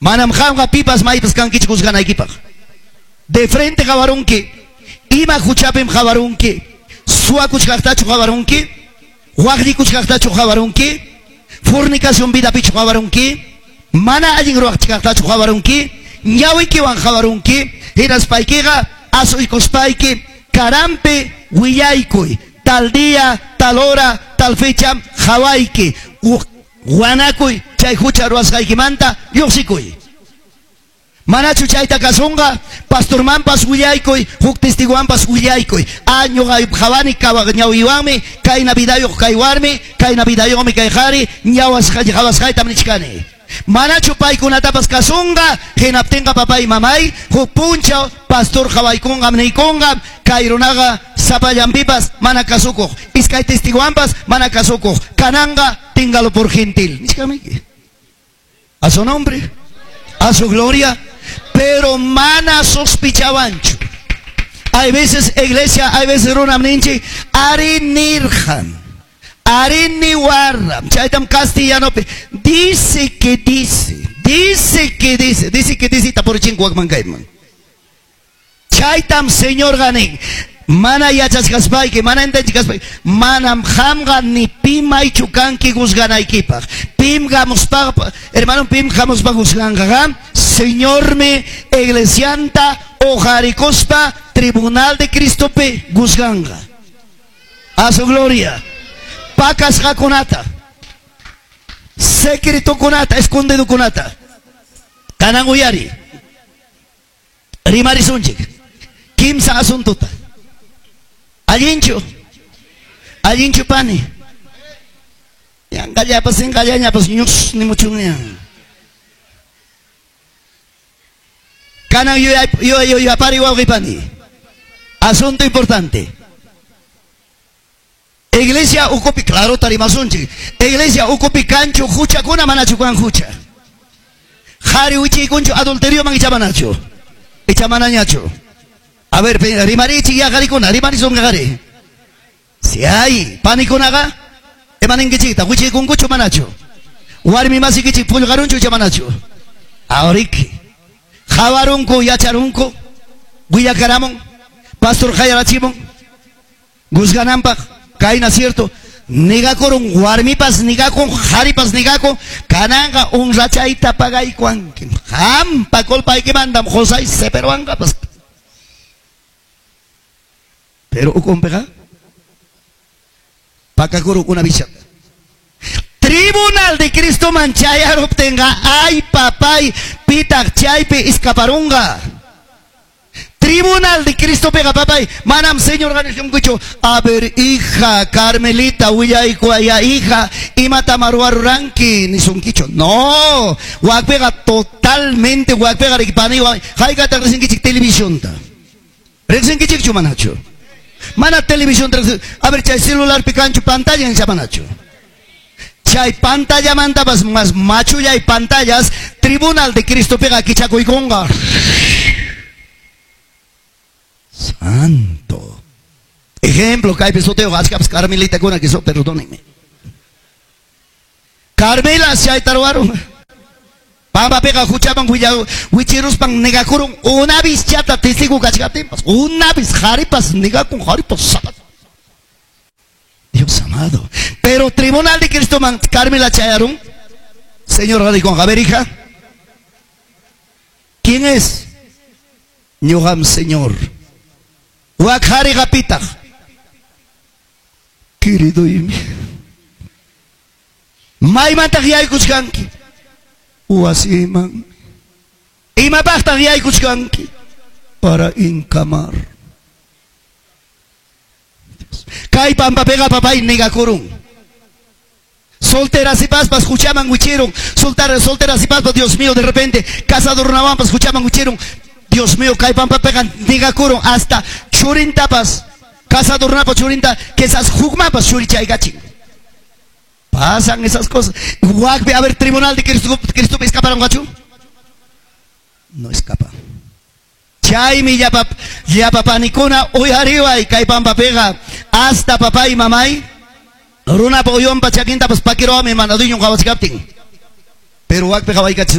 Manam qamqa pipas maypas kankichu juzganaykipaq. De frente qawarunki, ima huchapim qawarunki, suwakuchkaqtachu qawarunki, waqllikuchkaqtachu qawarunki, fornicación vidapichu qawarunki, mana allin ruwachkaqtachu qawarunki, ñawikiwan qawarunki, hinaspaykiqa asuykuspayki karampi willaykuy, tal día, tal hora, tal fecha qawayki, wanakuy chay hucha ruwasqaykimanta lluqsikuy. Manachu chayta kasunqa, pastormanpas willaykuy, huk testiguwanpas willaykuy. Ah, ñuqa qawani ñawiwanmi, kayna vidayuq kay warmi, kayna vidayuqmi kay qhari, qawasqaytam nichkani. Manachu paykunatapas kasunqa, hinaptinqa papay mamay, huk punchaw pastor qawaykunqam niykunqam, kay runaqa sapallanpipas mana kasukuq, iskay testiguwanpas mana kasukuq, kananqa téngalo por gentil. Nichkamiki. A su nombre, a su gloria, pero mana sospechawanchu. Hay veces iglesia, hay veces runam ninchik, ari nirqan, ari niwarram, chaytam castellanopi, dice que dice, dice que dice, dice que dice, tapurichin wakman kayman. Chaytam Señor ganin. Mana yachachkaspayki, mana entendichkaspayki, manam qamqa ni pim maychu kanki juzganaykipaq. Pim hamuspa, hermano, pim hamuspa juzganqa, Señormi iglesianta uqarikuspa tribunal de Cristopi juzganqa. A su gloria. Pakasqakunata, secretokunata, escondidokunata. Kanan uyari. Rimarisunchik. Kimsa asuntuta. Allinchu. Allinchu pani. Yanqallapas sinqallañapas ñus nimuchunña. Kanan yuyapari wawqipani. Asunto importante. Iglesia ukupi, claro tarimasunchik. Iglesia ukupi kanchu huchakuna manachu kan hucha. Qhari wichiykunchu adulterioman icha manachu. Icha manañachu. A ver, rimarichik ya qarikuna, rimarisunqa qari. Si hay panikunaqa, imaninkichikta, wichiykunkuchu manachu. Warmi masikichik pullqarunchu icha manachu. Auriki. Qawarunku, yacharunku, willakaramun, pastor qayarachimun, juzgananpaq, kayna cierto, negakurun warmipas negakun, qharipas negakun, kananqa honrachayta pagaykuanki. Qampa culpaykimandam José seperuanqapas. Pero ukunpiqa pakakurun una bichata. Tribunal de Cristo man chayaruptinqa, ay papay, pitaq chaypi escaparunqa. Tribunal de Cristo pega papay, manam Señor ganisunkichu, a ver hija, Carmelita, willaykuaya hija, imata maruaruranki nisunkichu. No, wakpiqa totalmente wakpiqa rikpani, haykata riqsinkichik televisionta. Riqsinkichikchu manachu. Mana televisión, a ver, chay celular picanchu pantalla en manachu. Chay pantalla mantapas más machulla y pantallas, Tribunal de Cristo pega kichakuykunqa. Santo. Ejemplo, kaypi sutiyuq achkapas Carmelita kuna que so, perdónenme. Carmela chayta ruwarun. Pampapiqa huchaman wichiruspan negakurun una vez chata testigo kachkaptinpas, una vez qharipas negakun, qharipas sapat. Dios amado. Pero Tribunal de Cristo man Carmela chayarun. Señor dijo, a ver hija, ¿quién es? Ñuqam Señor. Wak qhariqa pitaq. Querido imi. Maymantaq yaykuchkanki. Wasiman. Imapaqtaq yaykuchkanki. Para encamar. Kay pampapiqa papay negakurun. Solteras y paspas huchaman wichirun. Solteras y paspas, Dios mío, de repente casado runawanpas huchaman wichirun. Dios mío, kay pampapiqa negakurun hasta churintapas, casado runapa churinta, quizás hukmapas churichaykachin. Pasan esas cosas. Wakpi, a ver, tribunal de Cristo, Cristo escaparon gachu? No escapa. Chaymi llapa panikuna uyariway kay pampapiqa hasta papá y mamay runapa uywanpa chakintapas pakiruwami mana dueñon qawachkaptin. Pero wakpi qawaykachin.